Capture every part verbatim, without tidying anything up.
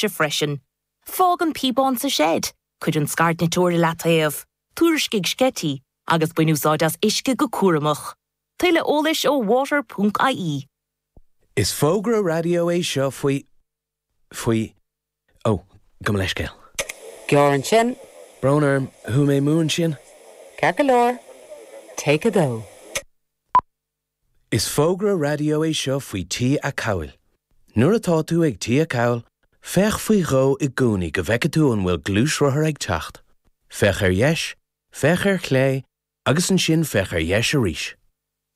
freisin. Fág an píobán sa seid, cuir an scairdniteoir i leataobh, tuairiscigh sceití agus bain úsáid as uisce go cúramach. Tuilleadh eolais ó water.ie. Is fógra raidió é seo faoi faoi ó gabh mo leithscéal. Gearr ansin. Brón orm chuaigh mé amú ansin? Ceart go leor. Take a dó. Is fógra raidió é seo faoi Tí Acomhail. Nuair atá tú ag Tí Acomhail, féach faoi dhó i gcónaí go bhfeice tú an bhfuil gluaisrothar ag teacht. Féach ar dheis, féach ar chlé, agus ansin féach ar dheis arís.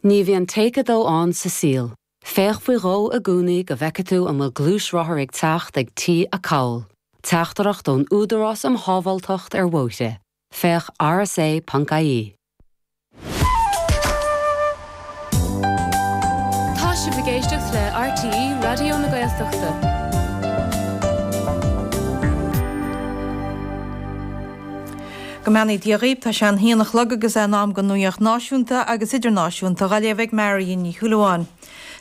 Ní bhíonn take a dó ann sa saol. Féach faoi dhó i gcónaí go bhfeice tú an bhfuil gluaisrothar ag teacht ag Tí Acomhail. Teachtaireacht ón Údarás um Shábháilteacht ar Bhóithre. Féach rsa.ie. Tá sibh ag éisteacht le RTÉ Raidió na Gaeltachta. Go mbeannaí Dia dhaoibh, tá sé an haon a chlog agus é in am don nuacht náisiúnta agus idirnáisiúnta á léamh ag Marion Ní Shúilleabháin.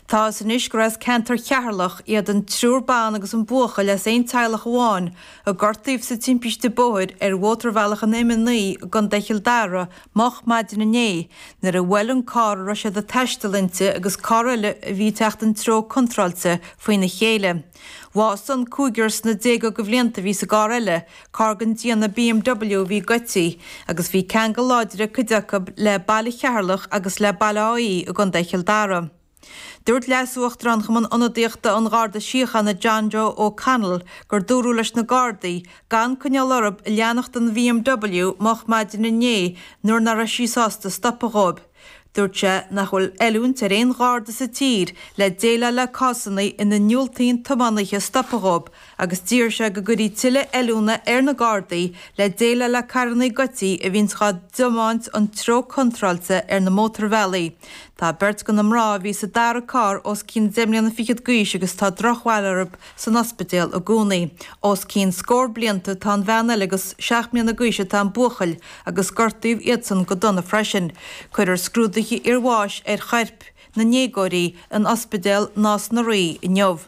Tá fhios anois gur as ceantar Cheatharlach iad an triúr ban agus an buachaill as aon teaghlach amháin a gortaíodh sa timpiste bóthair ar mhótarbhealach an M a naoi i gContae Chill Dara moch maidin inné nuair a bhuail an carr a raibh siad ag taisteal inti agus carr eile a bhí ag teacht an treo contráilte faoina chéile. Bhásaigh an cúigear sna déaga de bhlianta a bhí sa gcarr eile, carr den déanamh BMW a bhí goidte, agus bhí ceangal láidir ag cuid acu le baile Cheatharlach agus le Baile Átha Í i gContae Chill Dara. Dúirt Leas-Uachtarán Chumann Ionadaíochta an Gharda Síochána John Joe O'Connell gur dúradh leis na Gardaí gan coinneáil orthu leanacht den BMW moch maidin inné nuair nach raibh sí sásta stopadh dhóibh. Dúirt sé nach bhfuil oiliúint ar aon gharda sa tír le déileáil le cásanna ina ndiúltaíonn tiománaithe stopadh dhóibh agus d'iarr sé go gcuirfí tuilleadh oiliúna ar na Gardaí le déileáil le carranna goidte a bhíonns dhá dtiomáint an treo contráilte ar na mótarbhealaí. Tá beirt de na mná a bhí sa dara carr os cionn deich mbliana fichead d'aois agus tá drochbhail orthu san ospidéal i gcónaí. Os cionn scór blianta atá an bhean eile agus seacht mbliana d'aois atá an buachaill agus gortaíodh iadsan go dona freisin. Cuirfear scrúduithe iarbháis ar choirp na ndéagóirí in Ospidéal Nás na Rí inniu.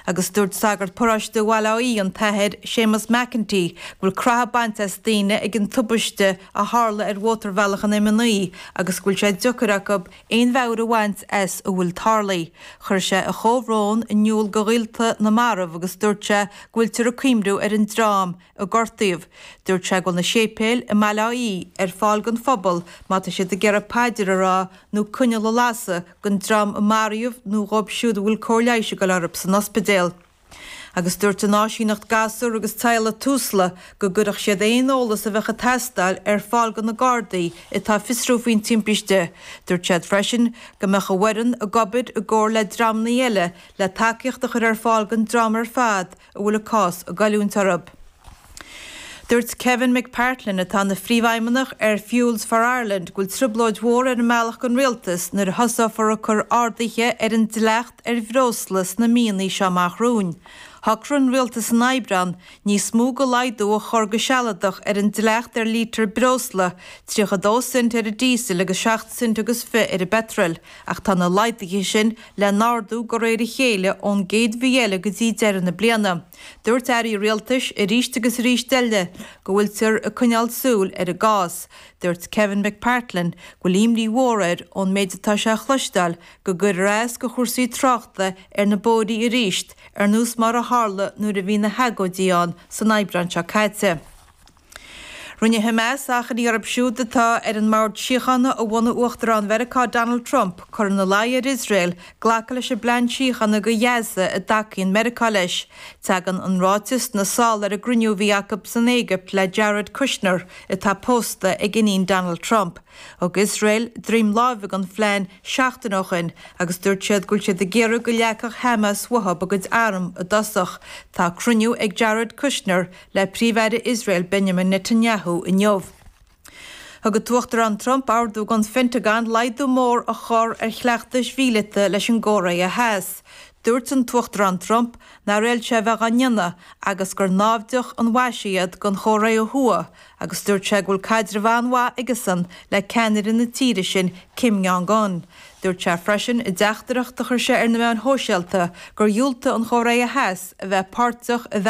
Agus dúirt sagart paróiste Bhaile Átha Í, an tAthair Séamus McEntee, go bhfuil croitheadh bainte as daoine ag an tubaiste a tharla ar mhótarbhealach an M a naoi agus go bhfuil sé deacair acu aon mheabhair a bhaint as a bhfuil tarlaithe. Chuir sé a chomhbhrón in iúl do ghaolta na marbh agus dúirt sé go bhfuiltear ag cuimhniú ar an dream a gortaíodh. Dúirt sé go bhfuil na séipéil i mBaile Átha Í ar fáil don phobal má tá siad ag iarraidh paidir a rá nó coinneal a lasadh don dream a maraíodh nó dhóibh siúd a bhfuil cóir leighis ag dul orthu san ospidéal. Agus dúirt an áisíneacht gasúr agus teaghlaigh Tusla go gcuirfeadh siad aon eolas a bheadh ag teastáil ar fáil do na Gardaí atá ag fiosrú faoin timpiste. Dúirt siad freisin go mbeadh a bhfoireann ag obair i gcomhar le dreamanna eile le tacaíocht a chur ar fáil don dream ar fad a bhfuil a cás ag goilliúint orthu. Dúirt Kevin McPartland, atá ina phríomhfheidhmeannach ar Fuels for Ireland, go bhfuil trioblóid mhór ar an mbealach don rialtas nuair a thosófar ag cur arduithe ar an dleacht ar bhreosla sna míonna seo amach romhainn. Shocraigh an rialtas in Aibreán níos mó de laghdú a chur go sealadach ar an dleacht ar lítear breosla, tríocha dó cent ar an díosal agus seacht cent agus fiche ar an bpeitreal, ach tá na laghduithe sin le n-ardú de réir a chéile ón gcéad mhí eile go dtí deireadh na bliana. Dúirt airí rialtais arís agus arís eile go bhfuiltear ag coinneáil súil ar an gcás. Dúirt Kevin McPartland go bhfuil imní mhór air ón méid atá sé a chloisteáil go gcuirfear as do chúrsaí tráchta ar na bóithrí arís ar nós mar a tharla nuair a bhí na hagóidí ann san Aibreán seo caite. Rinne Hamas achainí orthu siúd atá ar an mbord síochána a bhunaigh Uachtarán Mheiriceá Donald Trump cur ina luí ar Iosrael glacadh leis an bplean síochána do Ghaza a dtacaíonn Meiriceá leis. Tagann an ráiteas sna sála ar an gcruinniú a bhí acu san Éigipt le Jared Kushner, atá pósta ag iníon Donald Trump. Thug Iosrael droim láimhe don phlean seachtain ó shin agus dúirt siad go bhfuil siad ag iarraidh go leagfadh Hamas uathu a gcuid arm i dtosach. Tá cruinniú ag Jared Kushner le Príomh-Aire Iosrael Benjamin Netanyahu inniu. Thug an tUachtarán Trump ordú don Phentagon laghdú mór a chur ar chleachtais mhíleata leis an gCóiré Theas. Dúirt an tUachtarán Trump nár fhéad sé a bheith á ndéanamh agus gur naimhdeach an mhaise iad don Chóiré Thuaidh agus dúirt sé go bhfuil caidreamh an-mhaith aigesan le ceannaire na tíre sin Kim Jong-un. Dúirt sé freisin i dteachtaireacht a chuir sé ar na meáin shóisialta gur dhiúltaigh an Chóiré Theas a bheith páirteach i